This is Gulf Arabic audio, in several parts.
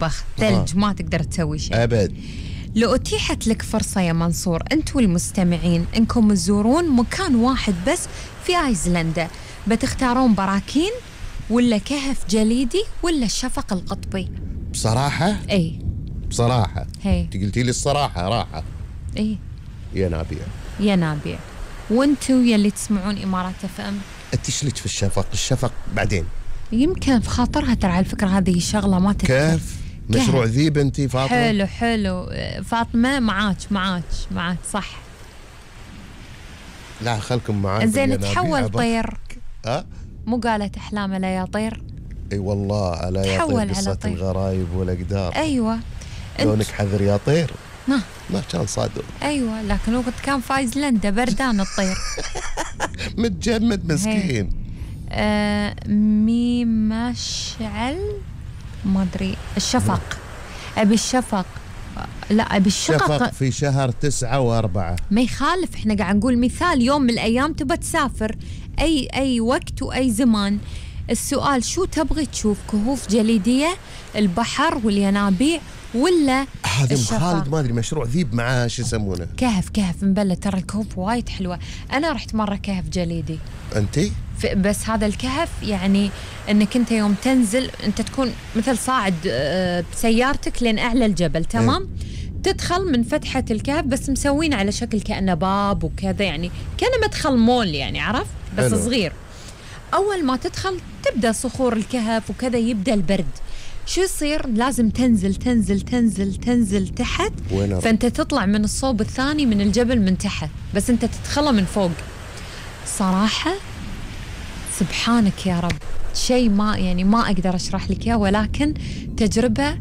بخ ثلج ما تقدر تسوي شيء أبد. لو أتيحت لك فرصة يا منصور أنت والمستمعين أنكم تزورون مكان واحد بس في أيسلندا، بتختارون براكين ولا كهف جليدي ولا الشفق القطبي؟ بصراحة؟ اي بصراحة هي انت قلتي لي الصراحة راحة. اي ينابيع. ينابيع. وانتو يلي تسمعون إمارات اف ام انت ايش لك في الشفق؟ الشفق بعدين يمكن في خاطرها ترى على الفكرة هذه شغلة ما تذكر. كيف؟ مشروع ذيب انت فاطمة؟ حلو فاطمة معاك صح. لا خلكم معاي. زين تحول طير. مو قالت أحلام لا يا طير؟ اي والله ألا يا طير قصة الغرايب والأقدار. أيوة لونك حذر يا طير. ما كان صادق. أيوة لكن وقت كان في أيسلندا بردان الطير. متجمد مسكين. مشعل ما أدري الشفق. أبي الشفق. لا أبي الشفق. شفق في شهر 9 و4. ما يخالف احنا قاعد نقول مثال يوم من الأيام تبى تسافر أي وقت وأي زمان. السؤال شو تبغي تشوف؟ كهوف جليدية البحر والينابيع ولا هذا خالد ما أدري مشروع ذيب معاه شو يسمونه كهف مبلة. ترى الكهوف وايد حلوة. أنا رحت مرة كهف جليدي. أنتي؟ بس هذا الكهف يعني أنك أنت يوم تنزل أنت تكون مثل صاعد بسيارتك لين أعلى الجبل تمام؟ تدخل من فتحة الكهف بس مسوين على شكل كأنه باب وكذا يعني كأنه مدخل مول يعني عرفت بس صغير. أول ما تدخل تبدأ صخور الكهف وكذا يبدأ البرد. شو يصير؟ لازم تنزل تحت. فأنت تطلع من الصوب الثاني من الجبل من تحت بس أنت تدخله من فوق. صراحة سبحانك يا رب شيء ما أقدر أشرح لك إياه ولكن تجربة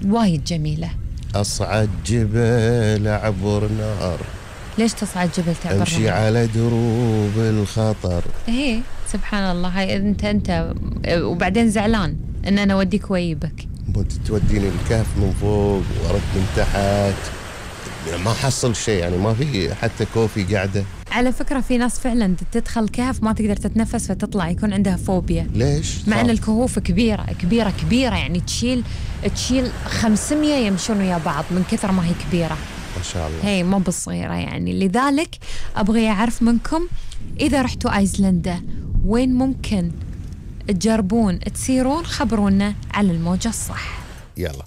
وايد جميلة. أصعد جبل أعبر نار. ليش تصعد جبل تعبر نار؟ أمشي على دروب الخطر. إيه سبحان الله. هاي أنت وبعدين زعلان إن أنا أوديك ويبك. توديني الكهف من فوق وأرد من تحت ما حصل شيء يعني ما في حتى كوفي قاعدة. على فكرة في ناس فعلا تدخل كهف ما تقدر تتنفس فتطلع يكون عندها فوبيا. ليش؟ مع أن الكهوف كبيرة يعني تشيل 500 يمشون ويا بعض من كثر ما هي كبيرة ما شاء الله. هي مو بالصغيرة يعني. لذلك أبغي أعرف منكم إذا رحتوا أيسلندا وين ممكن تجربون تسيرون خبرونا على الموجة الصح. يلا.